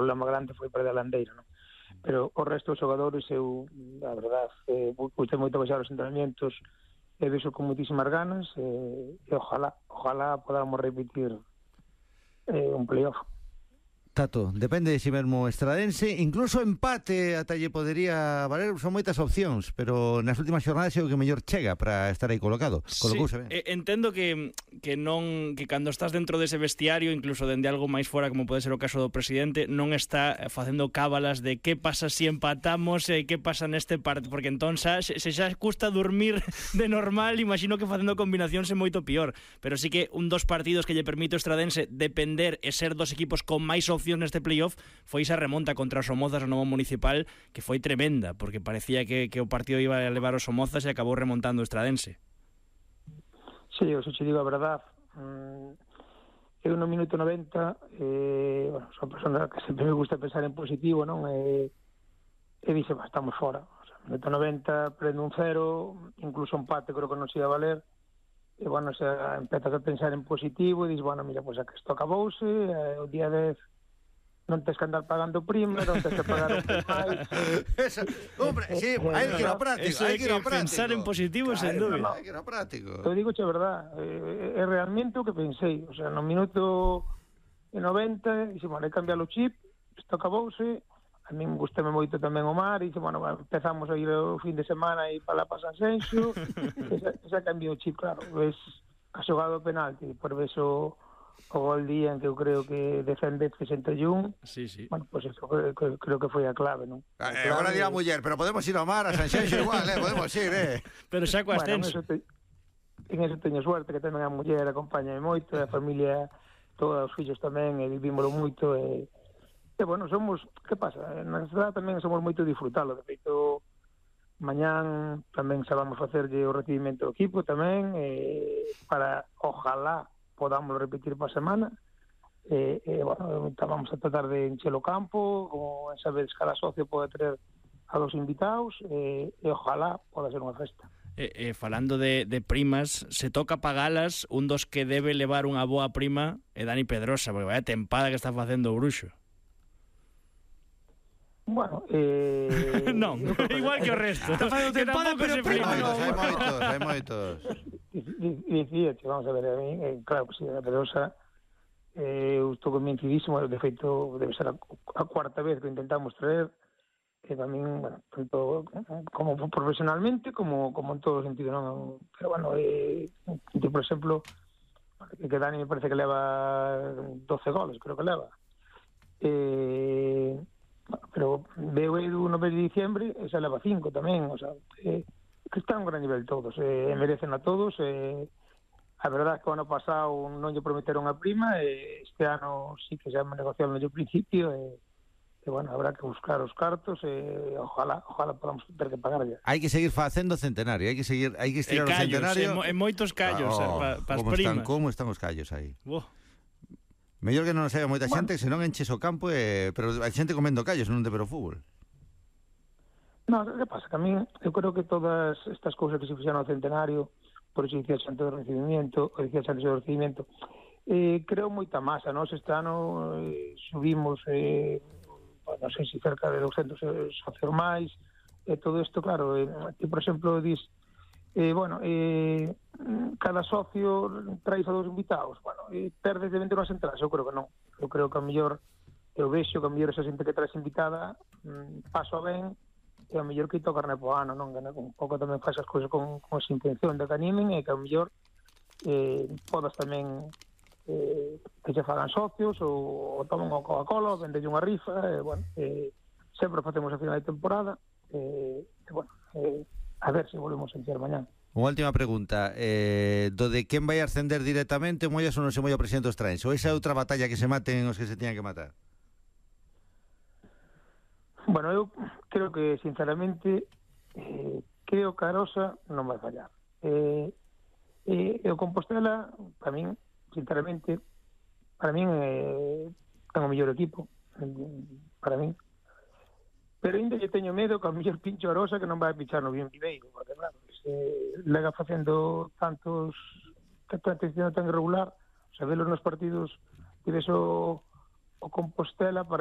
problema grande foi perder a Landeira, non? Pero o resto dos xogadores, eu, a verdad, gustei moito baixar os entrenamientos, e vexo con moitísimas ganas, e ojalá podamos repetir un playoff. Tato, depende de si mesmo Estradense, incluso empate ata lle podería valer, son moitas opcións, pero nas últimas xornadas é o que mellor chega para estar aí colocado. Colocouse ben. Entendo que cando estás dentro dese vestiario, incluso dende algo máis fora, como pode ser o caso do presidente, non está facendo cábalas de que pasa se empatamos, que pasa neste partido, porque entón se xa custa dormir de normal, imagino que facendo combinacións é moito pior, pero sí que un dos partidos que lle permite o Estradense depender e ser dos equipos con máis opcións neste playoff foi esa remonta contra os Somozas no Novo Municipal, que foi tremenda, porque parecía que o partido iba a levar os Somozas e acabou remontando o Estradense. Sí, eu te digo a verdad, eu no minuto 90, son persona que sempre me gusta pensar en positivo, non? E dixe, estamos fora. O sea, minuto 90, prendo un 0, incluso un empate creo que non se ia valer, e, bueno, se empezas a pensar en positivo, e dis, bueno, mira, pois que isto acabouse, o día 10 non tens que andar pagando prima, non tens que pagar un máis. Hombre, sí, hai que ir ao práctico, hai que ir ao práctico. Pensar en positivo, sen dúbida. Hai que ir ao práctico. Eu digo a verdad, é realmente o que pensei, o sea, no minuto 90, dixe, bueno, hai que cambiar o chip, isto acabouse, a min gustame moito tamén o mar, e dixe, bueno, empezamos a ir o fin de semana e para lá para San Xenxo, esa cambiou o chip, claro, ves a xogada do penalti, por ves o gol día en que eu creo que defende 61. Sí. Bueno, pues eso creo que foi a clave, non? Agora dirá a muller, pero podemos ir ao mar, a San Xenxo igual, podemos ir, Pero xa co ascenso. En eso teño suerte, que tamén a muller acompáñame moito, a familia, todos os fillos tamén, e vivímoslo moito, e bueno, somos, que pasa? Na cidade tamén somos moito disfrutalo, de feito, mañán tamén sabamos facerlle o recibimento do equipo tamén, para, ojalá, podamos repetir para a semana, bueno, vamos a tratar de encher o campo, como sabes, cada socio pode ter a dos invitados, e ojalá poda ser unha festa. Falando de primas, se toca pagalas, un dos que debe levar unha boa prima é Dani Pedrosa, porque vaya tempada que está facendo o Bruxo. Bueno, non, igual que o resto. Está facendo tempada, pero prima non. Hai moitos. Dicía, vamos a ver, a mí, claro, que si a Pedrosa, eu estou convencidísimo, de feito, debe ser a cuarta vez que intentamos traer, que tamén, bueno, tanto como profesionalmente, como en todo sentido, non? Pero, bueno, por exemplo, que Dani me parece que leva 12 goles, creo que leva. Pero veo Edu no mes de diciembre, esa leva 5 tamén, o sea, que están a un gran nivel todos, merecen a todos, a verdad é que o ano pasado non lle prometeron a prima, este ano sí que xa me negociaron no principio, e bueno, habrá que buscar os cartos, ojalá podamos ter que pagar ya. Hai que seguir facendo centenario, hai que estirar o centenario. En moitos callos, para as primas. Como están os callos aí? Mellor que non saiba moita xente, senón enches o campo, pero hai xente comendo callos, non de ver o fútbol. No, que pasa? Que a mí, eu creo que todas estas cousas que se fixeron ao centenario, por eso dicía antes do recibimiento, creo moita masa, non? Este ano subimos, non sei se cerca de 200 socios máis, todo isto, claro, que, por exemplo, dis, cada socio traes a dos invitados, bueno, perdes de 20 unhas entradas, eu creo que non. Eu creo que a mellor, eu vexo que a mellor esa xente que traes invitada paso ben, e a mellor que ito carne po ano, non? Un pouco tamén faz as cousas con esa intención de que animen, e que a mellor podas tamén que se fagan socios, ou toman unha Coca-Cola, ou vendelle unha rifa, bueno, sempre facemos a final de temporada, bueno, a ver se volvemos a encher mañán. Unha última pregunta, do de quen vai ascender directamente, mollas ou non se molla o presidente dos Traens, ou esa é outra batalla que se maten os que se tiñan que matar? Bueno, eu creo que, sinceramente, creo que a Arosa non vai fallar. O Compostela, para min, sinceramente, ten o mellor equipo, para min. Pero ainda lle teño medo que a mellor pincho a Arosa que non vai pichar no bien Viveiro, porque claro, lega facendo tantos que está tan irregular, sabelos nos partidos, que ves o Compostela para